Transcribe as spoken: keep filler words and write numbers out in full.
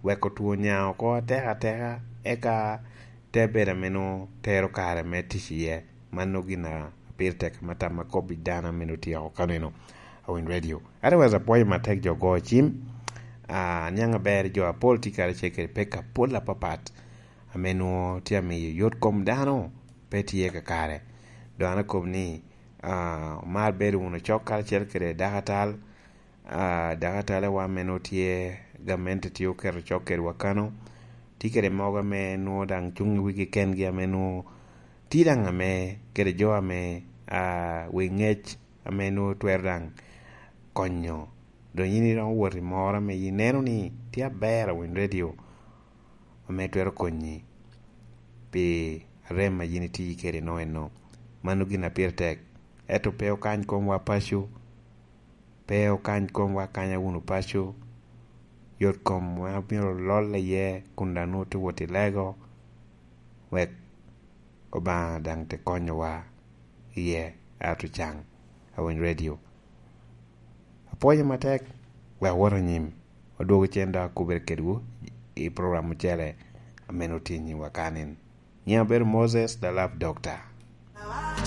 weko two nya oko atek ateka, eka te bedo ame nwoŋo tero kare me tic iye. Mano gin a pire tek ame tam akob i dano ame nwoŋo tye oko kaneno, awiny radio. Otherwise, apwoyo matek jo go cim. Ah, aniaŋ aber jo apol tye karacel kede pek apol apapat ame nwoŋo tye amiyo yot kom dano pe tye kakare. Dok an akobo ni, ah, omar bedo wunu cok karacel kede dakatal, ah, dakatalewa ame nwoŋo tye, gamente tye oketo cok kedwa kano. Tye kede mogo ame nwoŋo daŋ cuŋ i wigi kengi ame nwoŋo tye daŋ ame kede jo ame, ah, wi ŋec ame nwoŋo twero daŋ konyo. Dong yin iromo wot i moro ame ineno ni tye aber awiny radio ame twero konyi pi rem a yin itye kede no eno. Mano gin a pire tek. Ento pe okany komwa paco, pe okany komwa akanya wunu paco. Yot komwa myero olol iye kun daŋ nwoŋo tye wot i lego, wek Obaŋa daŋ te konyowa iye, ato caŋ awiny radio. Apwoyo matek, wek awot anyim, odwogo cen dok akubere kedwu i program ocele ame nwoŋo tye i nyimwa kanin. Nyiŋa obedo Moses, the Love Doctor.